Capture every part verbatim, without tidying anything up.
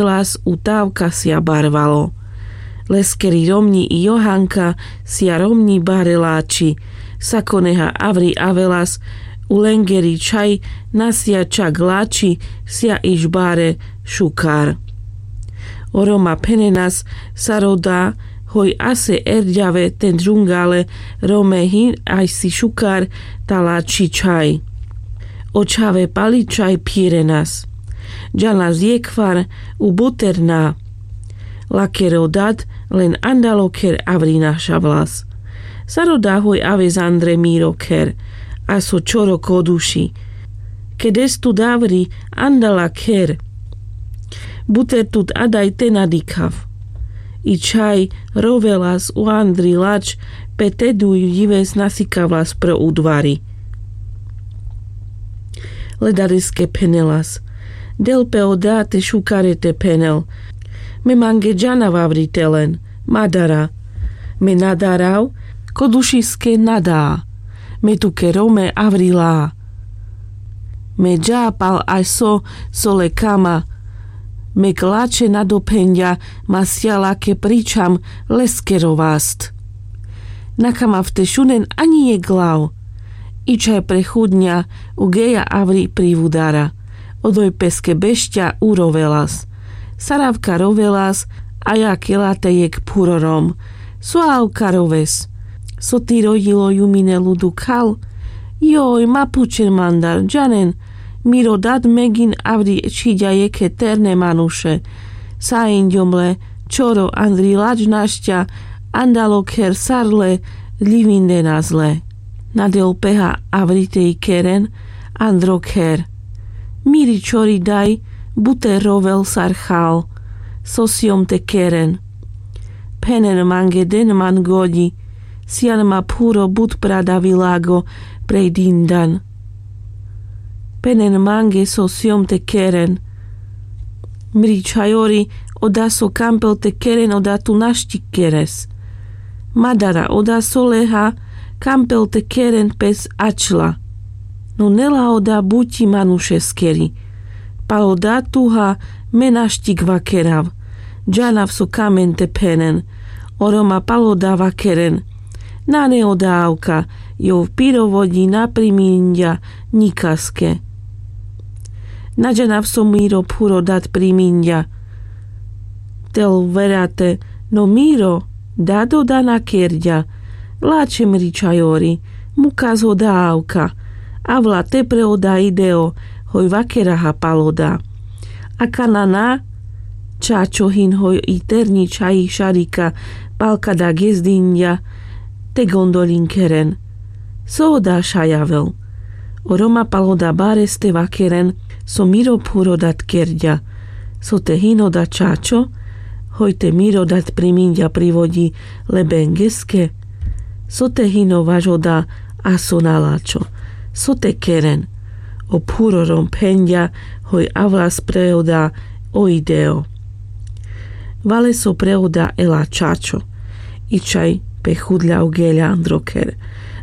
las u tavka sia barvalo. Leskeri romňi i johanka sia romňi bare lači. Sakoneha avri avelas u lengeri čhaj, na sia čak lači sia iš bare šukar. O roma phenenas sar oda hoj ase erďave ten džungale rome hin ajsi šukar ta lači čhaj. O čhave pali čhaj phirenas. Džanas jekhvar u buter na. Lakero dad len andalo kher avri našavlas. Sar oda hoj aves andre miro kher, a so čoro koduši. Kedes tut avri andala kher. Buter tut adaj te na dikhav. I čhaj rovelas u andri lač pe te duj dives na sikavlas pro udvari. Ledariske phenelas: Del pe oda te šukare te phenel. Me mange džanav avri te len, ma dara. Me na darav, kodušiske na da. Me tuke rome avri la. Me dža pal aso so le kama. Me k lače na dophenďa, ma sia lake pričam leskero vast. Na kamav te šunen aňi jekh glav. I čhaj prechudňa u geja avri privudara. Odoj peske bešťa u rovelas. Saravka rovelas, a ja kela te jekh phuro rom. So avka roves? So ti rodilo jumine ludu khal? Joj, ma pučen mandar, džanen, miro dad megin avri čhiďa jekhe terne manuše. Sa inďom le čoro andri lač našťa, andalo kher sar le ljivindenas le. Na del peha avri te ikeren andro kher. Miri čori daj buter rovel sar khal. So siom te keren? Phenen mange den man goďi. Sian ma phuro but pradavi lago prej dindan. Phenen mange so siom te keren. Mri čhajori, oda so kampel te keren oda tu našti keres. Ma dara, oda so leha kampel te keren pes ačla. No nela oda buti manušeskeri. Pal oda tuha me našti k vakerav. Džanav so kamen te phenen. O roma pal oda vakeren. Nane oda avka, jov piro voďi na priminďa ňikaske. Na džanav so miro phuro dad priminďa. Tel verate, no miro dad oda na kerďa. Lače mri čhajori, mukas oda avka. Avla te pre oda ideo, hoj vakeraha pal oda. Akana na čačo hin hoj i terňi čhaj i šarika pal kada gezdinďa te gondoľin keren. So oda šajavel? O roma pal oda bares te vakeren so miro phuro dad kerďa. So te hin oda čačo, hoj te miro dad priminďa privoďi le bengeske? So te hin o vaš oda aso na lačo? So te keren? O phuro rom phenďa hoj avlas pre oda o ideo. Vale so pre oda ela čačo. I čhaj pechudľa u geľa andro kher.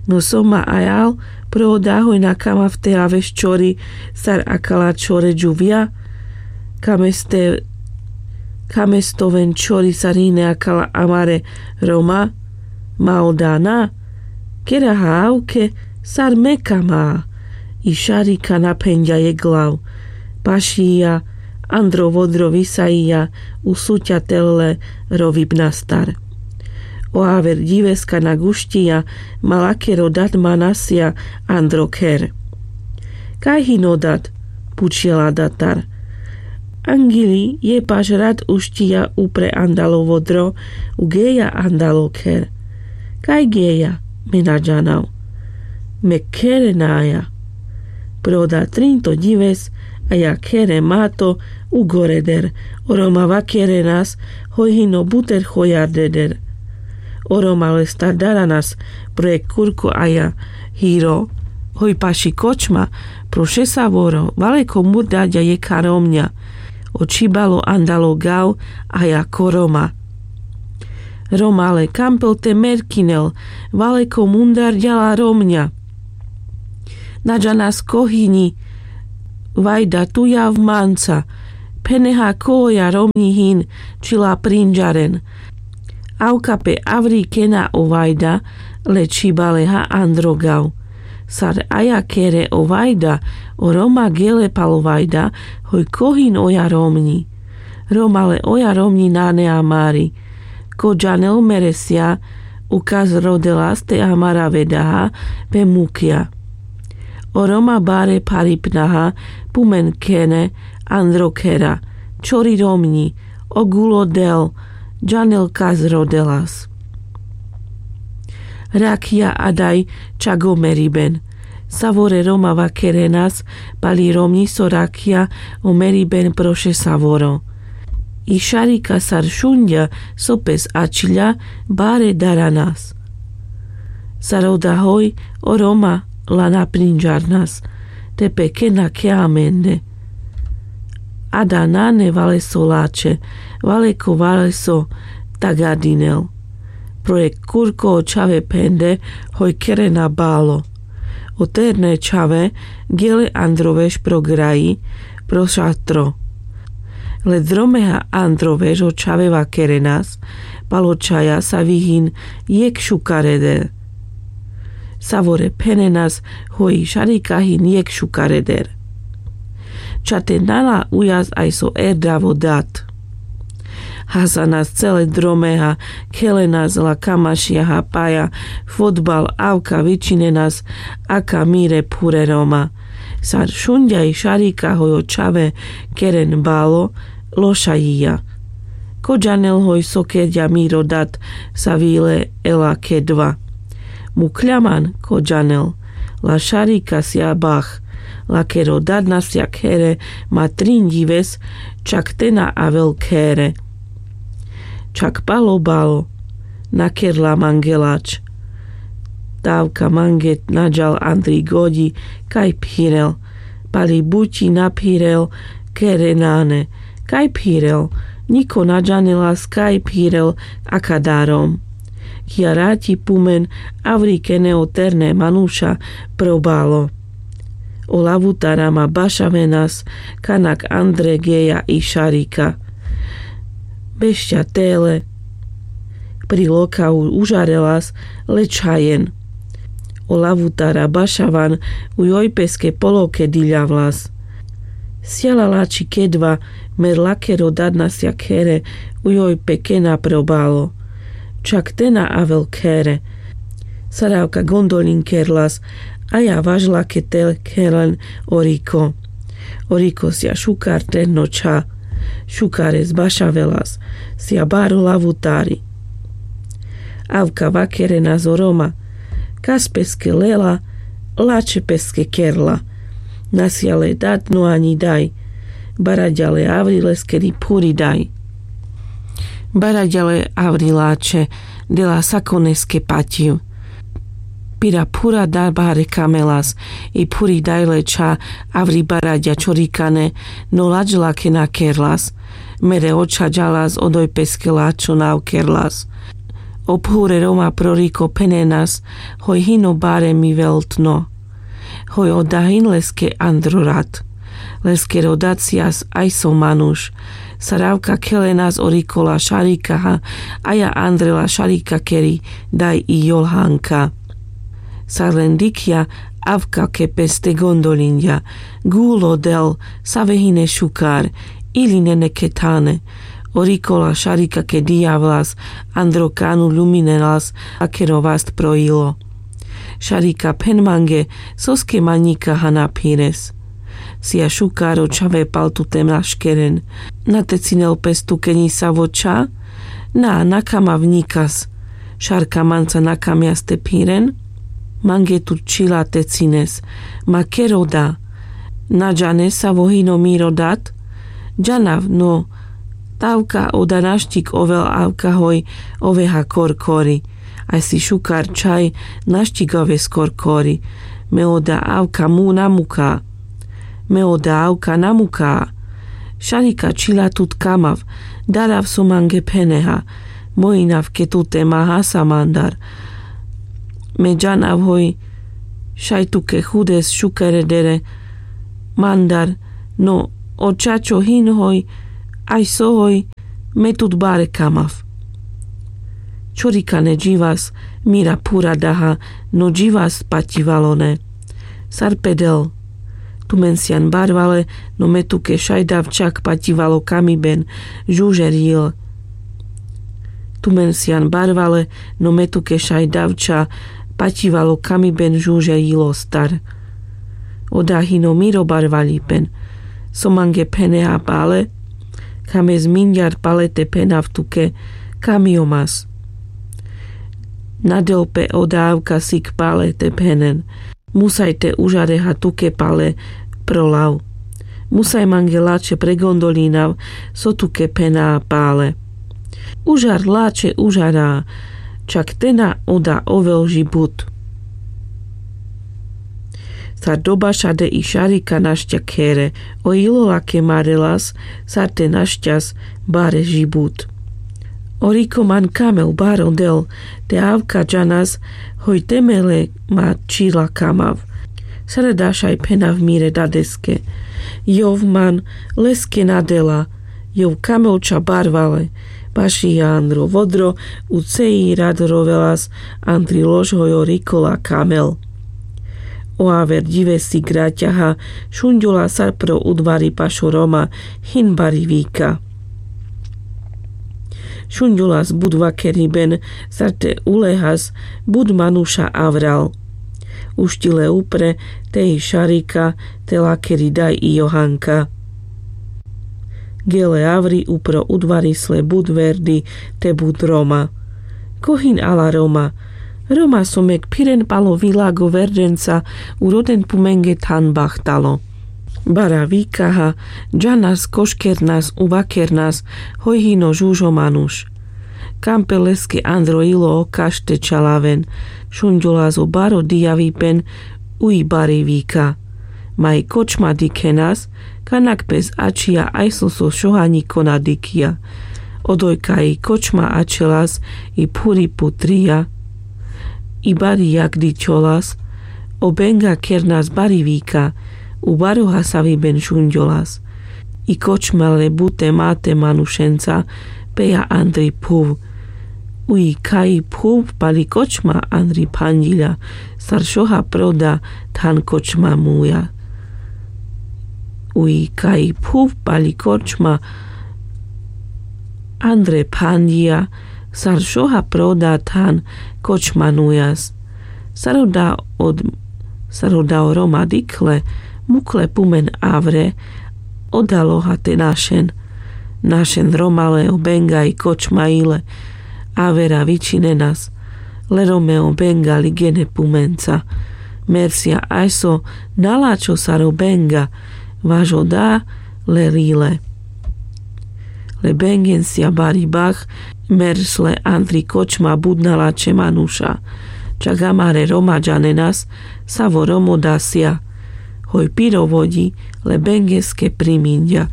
No so ma ajal pre oda hoj na kamav te aves čori sar akala čore džuvľa. Kameste, kamestoven čori sar hine akala amare roma. Ma oda na. Keraha avke sar me kama. I šarika na phenďa jekh glav. Pašija andro vodro visaija u suťa tel le rovibnastar. O aver ďiveska na gušťija, ma lakero dad ma nasia andro kher. Kaj hino dad? Pučela datar. Angiľi jepaš rad ušťija upre andalo vodro, u geja andalo kher. Kaj geja? Me na džanav. Me khere naja. Pre oda trin to ďives, a ja khere mato u gore der. O roma vakerenas hoj hino buter chojar deder. O roma lestar daranas pro jekh kurko a ja hiro, hoj paši kočma pro šesavoro valeko murdaďa jekha romňa. O čhibalo andalo gav a ja ko roma. Roma le kampel te merkinel, valeko mundarďa la romňa. Na džanas ko hini, vajda tu jav manca. Pheneha ko oja romňi hin čhila prinďaren. Avka pe avri kena o vajda, le čhibaleha andro gav. Sar aja khere o vajda, o roma gele pal o vajda, hoj ko hin oja romňi. Roma le oja romňi nane amari. Ko džanel mere sija, u kas rodelas te amara vedaha pe mukja. O roma bare pharipnaha, pumen kene andro khera. Čhori romňi, o gulo del, džanel kas rodelas. Rakja adaj čak o meriben. Savore roma vakerenas, pali romňi so rakja o meriben proše savoro. I šarika sar šunďa so pes ačhilja, bare daranas. Sar oda hoj o roma la na prinďarnas, te pe kena khe amende. Ada nane valeso lačhe, vale ko valeso tagadinel. Pro jekh kurko o čhave phende hoj kerena balo. O terne čhave gele andro veš pro graji, pro šatro. Le dromeha andro veš o čhave vakerenas, pal o čhaja savi hin jekh šukar eder. Savore phenenas hoj i šarika hin jekh šukar eder. Čate nala ujas aj so erdrav o dat. Hasanas cele dromeha, khelenas la kamašijaha paja, fotbal, avka vičinenas, aka mire phure roma. Sar šunďa i šarika hoj o čhave keren balo, loša jija. Ko džanel hoj so kerďa miro dat, savi le ela kedva. Mukhlja man, ko džanel, la šarika sija bah, lakero dat na sija khere, ma trin dives, čak te na avel khere. Čak pal o balo, na kerla mange lač. Tavka mange na džal andri goďi, kaj phirel, pali buči na phirel, khere nane, kaj phirel, ňiko na džanelas kaj phirel, aka darom. Kija raťi pumen, avri kene o terne manuša pro balo. O lavutara ma bašavenas, kanak andre geja i šarika. Bešťa tele. Pri loka u-, užarelas le čhajen. O lavutara bašavan u joj peske poloke diľavlas. Sija la lači kedva, mer lakero dat na sija khere, u joj pe kena pro balo. Čak te na avel khere. Sar avka gondolin kerlas, aja važla ke te kheren o riko. O riko sija šukar terno čha. Šukares bašavelas, sija baro lavutari. Avka vakerenas o roma, kas peske lela, lačhe peske kerla. Na sija le dat no aňi daj. Baraďa le avri leskeri phuri daj. Baraďa le avri lačhe, dela sakoneske paťiv. Pira phura daj bare kamelas, i phuri daj le čha avri baraďa čorikane, no lač lake na kerlas. Mere očha džalas odoj peske lačho nav kerlas. O phure roma pro riko phenenas, hoj hino bare mi veltno. Hoj oda hin leske andro rat. Leskero dat sijas aj so manuš. Sar avka khelenas o riko la šarikaha, aja andre la šarikakeri daj i jolhanka. Sar len dikhja, avka ke peste gondolinďa. Gulo del, save hine šukar, ili nene ke thane. O riko la šarikake diľavlas, andro kanu luminelas, akero vast pro ilo. Šarika, phen mange, soske ma ňikaha na phires? Sija šukar o čhave pal tute maškeren. Na tecinel pes tuke ňisavo čha? Na, na kamav ňikas. Šarka manca na kamjas te phiren? Mange tut čhila tecines. Ma ker oda. Na džanes savo hino miro dat? Džanav, no. Tavka oda naštik ovel avka hoj oveha korkori. Aj si šukar čhaj naštik oves korkori. Me oda avka mu na muka. Me oda avka na muka. Šarika čhila tut kamav, darav so mange pheneha. Mojinav ke tute ma hasa mandar. Me džanav hoj šaj tuke hudes šukar edere mandar, no O čačo hin hoj, aj so hoj, me tut bare kamav. Čorikane dživas mira phura daha, no dživas paťivalo ne. Sar pe del. Tumen sian barvale, no me tuke šaj davča paťivalo kamiben žužer jil. Tumen sian barvale, no me tuke šaj davča paťivalo kamiben žužer jilostar. Oda hino miro barvaljipen. So mange pheneha pale, kame zminďar pale te phenav tuke, kamio mas. Na del pe oda avka sik pale te phenen. Musaj te užareha tuke pale pro lav. Musaj mange lačhe pregondoľinav so tuke phenaha pale. Užar lačhe užara, čak te na oda ovel žibut. Sar dobašade i šarika našťa khere, o ilo lake marelas, sar te našťas bare žibut. O riko man kamel baro del, te avka džanas, hoj te me le ma čila kamav. Sar dašaj phenav mire dadeske. Jov man leske na dela, jov kamel ča barvale. Baši andro vodro, u cei rad rovelas, andri lož hoj o riko la kamel. O aver dživesi graťaha, šunďola sar pro udvari pašo Roma, hin bari vika. Šunďolas but vakeriben, sar te ulehas but manuša avral. Uštile upre te i šarika, te lakeri daj i Johanka. Gele avri upro udvarisle but verdi te but Roma. Ko hin ala Roma? Roma so mek phiren palo vilago verdenca, uroden pumenge than bahtalo. Bara vikaha, džanas koškernas uvakernas, hoj hino žužo manuš. Kam pe leske andro ilo o kaš te čalaven, šunďolas o baro dijavipen, uj bari vika. Ma i kočma dikhenas, kanak pes ačhija ajso so šoha ňiko na dikhija. Odoj kaj i kočma ačhelas i phuri putrija. I bari jak dičholas, o benga kernas bari vika, u baro hasaviben šunďolas. I kočma le bute mate manušenca, peja andri phuv. Uj kaj i phuv pali kočma andri phanďilja, sar šoha proda than kočma muja. Uj kaj i phuv pali kočma andre phanďija, sar šoha proda than kočma nujas. Sar oda od, sar oda o Roma dikhle, mukhle pumen avre, oda loha te našen. Našen Roma le o benga i kočma ile, avera vičinenas, le Rome o benga ligene pumenca. Mer sija ajso na lačho sar o benga, vaš oda le rile. Le bengen sija bari bah, mer sle andri kočma but na lačhe manuša. Čak amare Roma džanenas, savo Romo da sija. Hoj piro voďi, le bengeske priminďa.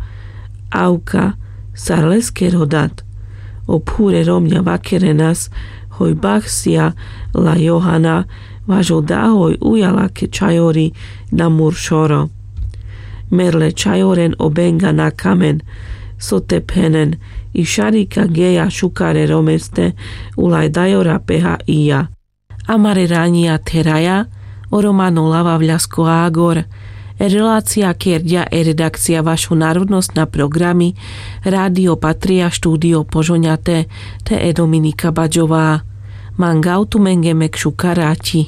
Avka, sar leskero dat. O phure Romňa vakerenas, hoj bah sija la Johana, vaš oda hoj uja lake čhajori na muršoro. Mer le čhajoren o benga na kamen, so te phenen, i šarika geja šukare Romeste, ulaj dajora peha ija. Amare ranjia theraja, o Romano lavavľasko agor. E relacija kerďa e redakcija vašo narodnosna programi, Radio Patria, štúdio Požoňate, te e Dominika Baďová. Mangav tumenge mek šuka raťi.